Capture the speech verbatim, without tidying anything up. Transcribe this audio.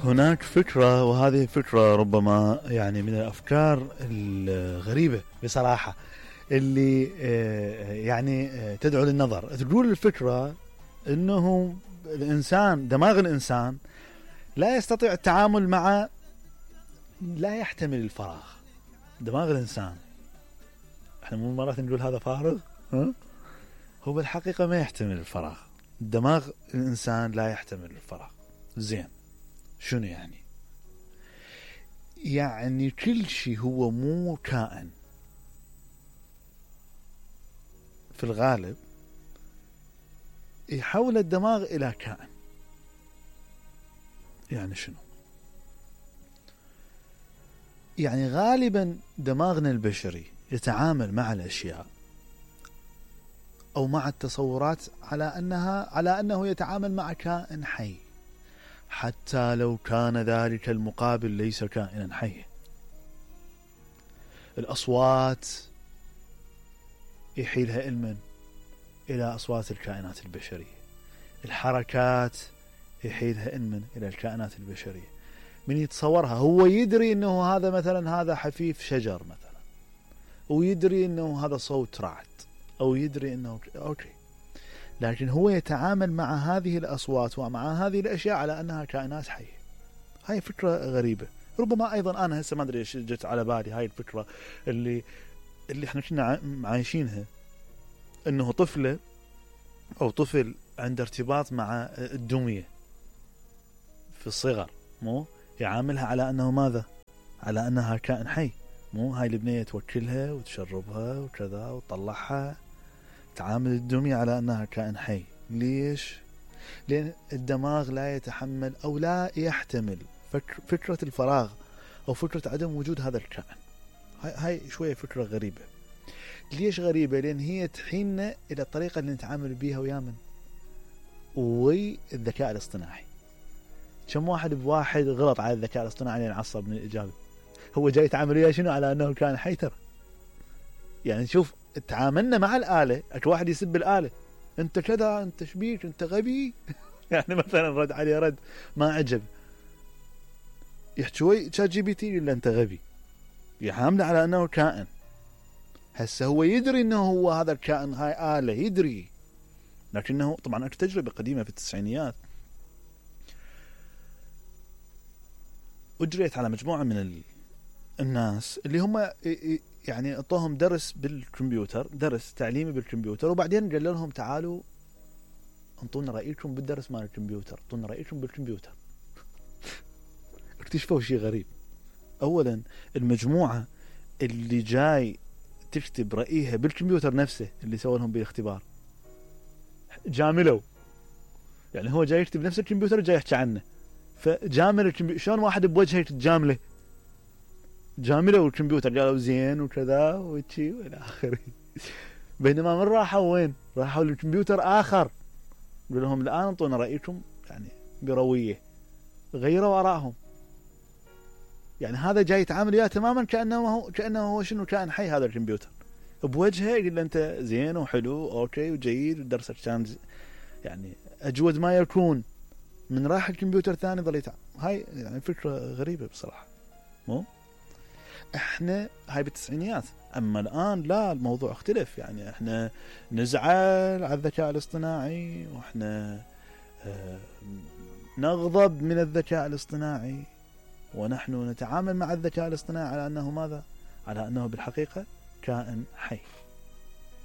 هناك فكرة، وهذه الفكرة ربما يعني من الأفكار الغريبة بصراحة اللي يعني تدعو للنظر. تقول الفكرة أنه الإنسان، دماغ الإنسان لا يستطيع التعامل مع، لا يحتمل الفراغ. دماغ الإنسان، احنا مو مرات نقول هذا فارغ، ها؟ هو بالحقيقة ما يحتمل الفراغ. دماغ الإنسان لا يحتمل الفراغ. زين، شنو يعني؟ يعني كل شيء هو مو كائن في الغالب يحول الدماغ إلى كائن. يعني شنو؟ يعني غالبا دماغنا البشري يتعامل مع الأشياء أو مع التصورات على أنها على أنه يتعامل مع كائن حي، حتى لو كان ذلك المقابل ليس كائنا حيا. الأصوات يحيلها علما إلى أصوات الكائنات البشرية، الحركات يحيلها علما إلى الكائنات البشرية. من يتصورها هو يدري أنه هذا مثلا هذا حفيف شجر مثلا، ويدري أنه هذا صوت رعد، أو يدري أنه أوكي، لكن هو يتعامل مع هذه الأصوات ومع هذه الأشياء على أنها كائنات حية. هاي فكرة غريبة. ربما أيضا أنا هسه ما أدري إيش جت على بالي هاي الفكرة اللي اللي إحنا كنا عايشينها، أنه طفلة أو طفل عنده ارتباط مع الدمية في الصغر، مو يعاملها على أنه ماذا؟ على أنها كائن حي. مو هاي البنية توكلها وتشربها وكذا وتطلعها، تعامل الدمية على أنها كائن حي. ليش؟ لأن الدماغ لا يتحمل أو لا يحتمل فكر فكرة الفراغ أو فكرة عدم وجود هذا الكائن. هاي, هاي شوية فكرة غريبة. ليش غريبة؟ لأن هي تحيلنا إلى الطريقة اللي نتعامل بيها ويا من والذكاء الاصطناعي. كم واحد بواحد غلط على الذكاء الاصطناعي لأن عصب من الإجابة. هو جاي يتعامل وياه شنو؟ على أنه كائن حي. ترى يعني شوف تعاملنا مع الآلة، اكو واحد يسب الآلة، انت كذا، انت شبيك، انت غبي يعني مثلا رد عليه رد ما عجب، يحكي شات جي بي تي الا انت غبي، يحامله على انه كائن. هسه هو يدري انه هو هذا الكائن هاي آلة، يدري، لكنه طبعا اكو تجربة قديمة في التسعينيات اجريت على مجموعة من الناس اللي هم يعني اعطوهم درس بالكمبيوتر، درس تعليمي بالكمبيوتر، وبعدين قال لهم تعالوا انطونا رأيكم بالدرس مال الكمبيوتر، انطونا رأيكم بالكمبيوتر. اكتشفوا شيء غريب. اولا المجموعة اللي جاي تكتب رأيها بالكمبيوتر نفسه اللي سووا لهم بالاختبار جاملوا، يعني هو جاي يكتب نفس الكمبيوتر جاي يحكي عنه، فجامل الكمبيوتر. شلون واحد بوجهه تجامله؟ جاملوا الكمبيوتر، قالوا زين وكذا وشي والى اخره. بينما من راحوا وين؟ راحوا للكمبيوتر اخر، قال لهم الان انطونا رايكم يعني برويه، غيروا ارائهم. يعني هذا جاي يتعامل وياه تماما كانه هو كانه هو شنو كائن حي. هذا الكمبيوتر بوجهه يقول له انت زين وحلو اوكي وجيد ودرسك كان يعني اجود ما يكون. من راح الكمبيوتر ثاني ظل يتعامل. هاي يعني فكره غريبه بصراحه. مو احنا هاي بالتسعينيات، اما الان لا، الموضوع اختلف. يعني احنا نزعل على الذكاء الاصطناعي، واحنا اه نغضب من الذكاء الاصطناعي، ونحن نتعامل مع الذكاء الاصطناعي على انه ماذا؟ على انه بالحقيقة كائن حي.